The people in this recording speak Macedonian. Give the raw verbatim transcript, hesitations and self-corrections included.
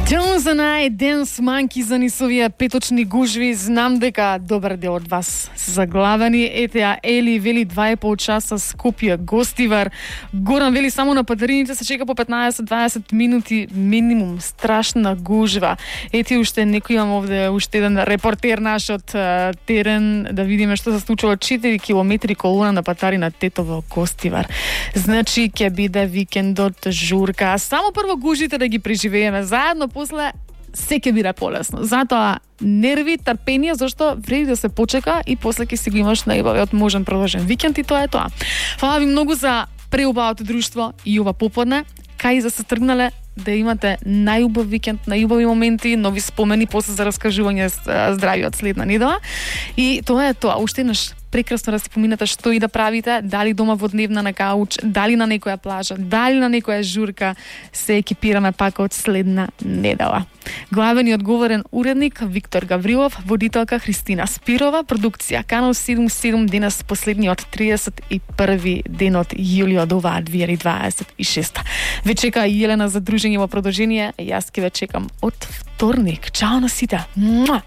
Jones and I, Dance Monkey за нисовија петочни гужви. Знам дека добар дел од вас се заглавени. Ете ја Ели вели два и пол часа Скопје гостивар. Горан вели само на падарините се чека по петнаесет до дваесет минути минимум. Страшна гужва. Ете уште некој имам овде уште еден репортер наш од uh, терен да видиме што се случува. четири километри колона на патари на Тетово гостивар. Значи ќе биде викендот журка. Само прво гужите да ги преживееме заедно, после се ќе биде полесно. Затоа нерви, трпение, зашто вреди да се почека и после ќе си го имаш најубавиот можен продолжен викенд и тоа е тоа. Фала ви многу за преубавото друштво и ова поподне. Кај за се тргнале да имате најубав викенд, најубави моменти, нови спомени после за раскажување здрави од следна недела. И тоа е тоа. Уште еднаш прекрасно да си поминете што и да правите, дали дома во дневна на кауч, дали на некоја плажа, дали на некоја журка, се екипираме пак од следна недела. Главен и одговорен уредник Виктор Гаврилов, водителка Христина Спирова, продукција Канал седумдесет и седум, денес последниот триесет и први ден од јули од оваа две илјади дваесет и шеста. Ве чека Јелена за дружење во продолжение, јас ќе ве чекам од вторник. Чао на сите! Муа!